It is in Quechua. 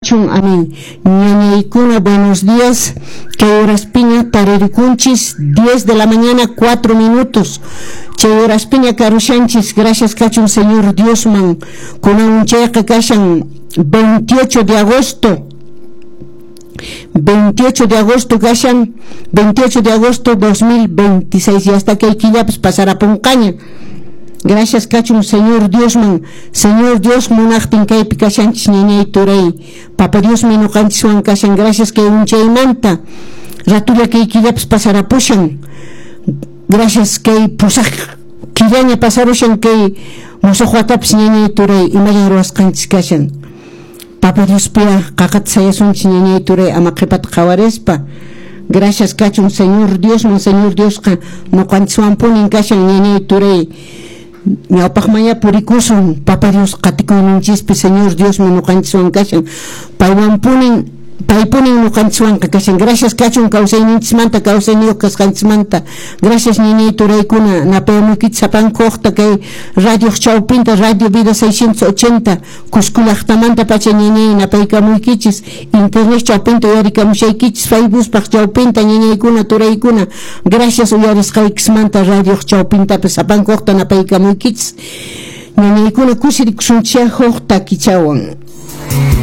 kachun, amén. Ñañaykuna, buenos días. Kay horaspiña taririkunchis, 10 de la mañana, 4 minutos. Chay horaspiña karushanchis, gracias kachun Señor Diosman. Kunan chayqa kashan 28 de agosto. 28 de agosto kashan, 28 de agosto 2026, y hasta kay killapas pasarapunqaña. Gracias kachun Señor Diosman. Señor Dios munaqtin kaypi kashanchis, ñañay, turay. Papa Diosmi ñuqanchiswan kashan. Gracias kay unchaymanta. Ratulla kay killapas pasarapushan. Gracias kay pusaq killaña pasarushan kay musuq watapas, ñañay, turay, imallan ruwasqanchis kashan. Papa Diospiya qaqata sayasunchis, ñañay, turay, ama qhipata qhawarispa. Gracias kachun Señor Diosman. Señor Diosqa ñuqanchiswanpunin kashan, ñañay, turay. Ñawpaqmanya purikusun Papa Dios qatikuyninchispi. Señor Diosmi ñuqanchiswan kashan, paywanpunin, paypunin ñuqanchiswanqa kashan. Gracias kachun kawsayninchismanta, kawsayniyuq kasqanchismanta. Gracias, ñañay, turaykuna. Napayamuykichis sapankuqta kay radioq chawpinta, Radio Vida 680, Cusco llaqtamanta pacha, ñañay, napaykamuykichis. Internet chawpinta uyarikamushaykichis, Facebookpaq chawpinta, ñañaykuna, turaykuna. Gracias uyarisqaykismanta radioq chawpintapas sapankuqta napaykamuykichis. Ñañaykuna, kusirikusunchis huk takichawan.